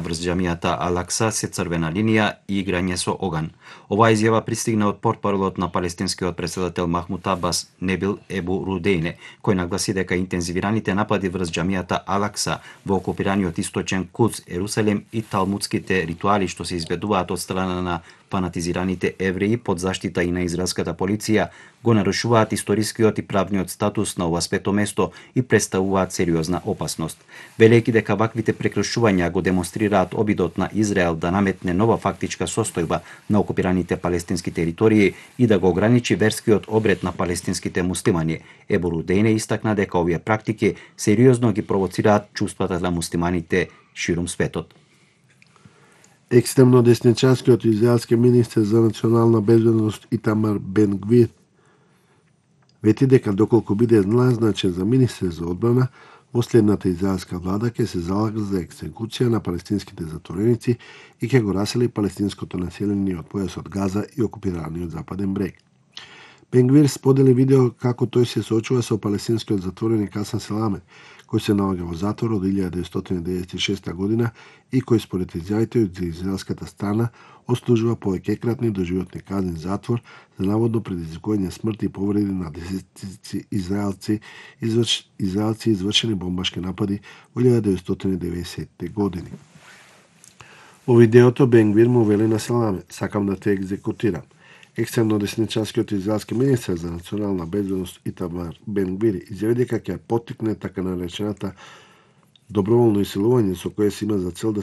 врз џамијата Ал-Акса се црвена линија и играње со оган. Оваа изјава пристигна од портпаролот на палестинскиот претседател Махмуд Абас Небил Ебу Рудејне, кој нагласи дека интензивираните напади врз џамијата Ал-Акса во окупираниот источен Кудс, Ерусалим и талмудските ритуали што се избедуваат од страна на фанатизираните евреи под заштита и на израелската полиција го нарушуваат историскиот и правниот статус на ова свето место и представуваат сериозна опасност. Велејќи дека ваквите прекршувања го демонстрираат обидот на Израел да наметне нова фактичка состојба на окупираните палестински територии и да го ограничи верскиот обред на палестинските муслимани, Ебу Рудејне истакна дека овие практики сериозно ги провоцираат чувствата на муслиманите ширум светот. Екстремно десничарскиот израелски министер за национална безбедност Итамар Бен Гвир вети дека доколку биде назначен за министер за одбрана, последната израелска влада ќе се залага за екзекуција на палестинските затвореници и ќе го расели палестинското население од појасот Газа и окупираниот Западен брег. Бен Гвир сподели видео како тој се соочува со палестинскиот затвореник Хасан Селаме, кој се наоѓа во затвор од 1996 година и кој според изјавите од израелската страна ослужува повеќекратни доживотни казни затвор за наводно предизвикување смрт и повреди на десетици израелци извршени бомбашки напади во 1990 години. Во видеото Бен Гвир му вели на Селаме: "Сакам да те екзекутирам." Екстремно десничарскиот израелски министер за национална безбедност Итамар Бен Гвир изјави дека ќе поттикне така наречената доброволно иселување со кое се има за цел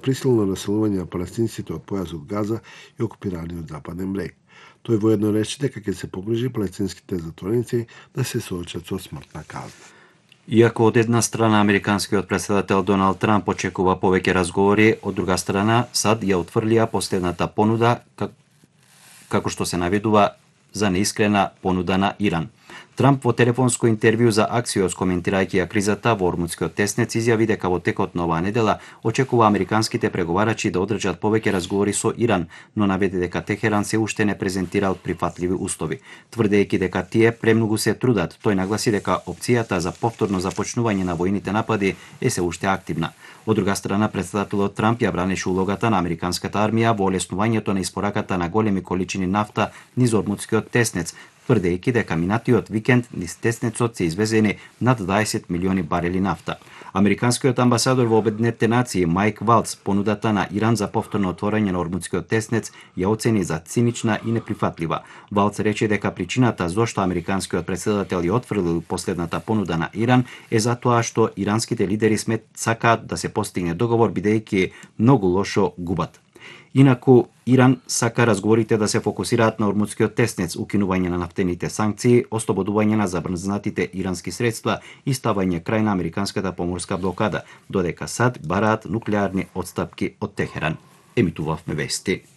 присилно населување на палестинците од појасот Газа и окупираниот Западен брег. Тој воедно рече дека ќе се погрижи палестинските затвореници да се соочат со смртна казна. Иако од една страна американскиот претседател Доналд Трамп очекува повеќе разговори, од друга страна САД ја отфрлија последната понуда како што се наведува за неискрена понуда на Иран. Трамп во телефонско интервју за Аксиос, коментирајќи ја кризата во Ормудскиот теснец, изјави дека во текот на оваа недела очекува американските преговарачи да одржат повеќе разговори со Иран, но наведе дека Техеран се уште не презентирал прифатливи услови. Тврдејќи дека тие премногу се трудат, тој нагласи дека опцијата за повторно започнување на војните напади е се уште активна. Од друга страна, претседателот Трамп ја бранеше улогата на американската армија во олеснувањето на испораката на големи количини нафта низ Ормудскиот теснец, тврдејќи дека минатиот викенд низ теснецот се извезени над 20 милиони барели нафта. Американскиот амбасадор во Обединетите нации Майк Валц понудата на Иран за повторно отворање на Ормудскиот теснец ја оцени за цинична и неприфатлива. Валц рече дека причината зошто американскиот претседател ја отфрлил последната понуда на Иран е затоа што иранските лидери сакаат да се постигне договор бидејќи многу лошо губат. Инаку, Иран сака разговорите да се фокусираат на Ормудскиот теснец, укинување на нафтените санкции, ослободување на забрзнатите ирански средства и ставање крај на американската поморска блокада, додека САД бараат нуклеарни отстапки од Техеран. Емитувавме вести.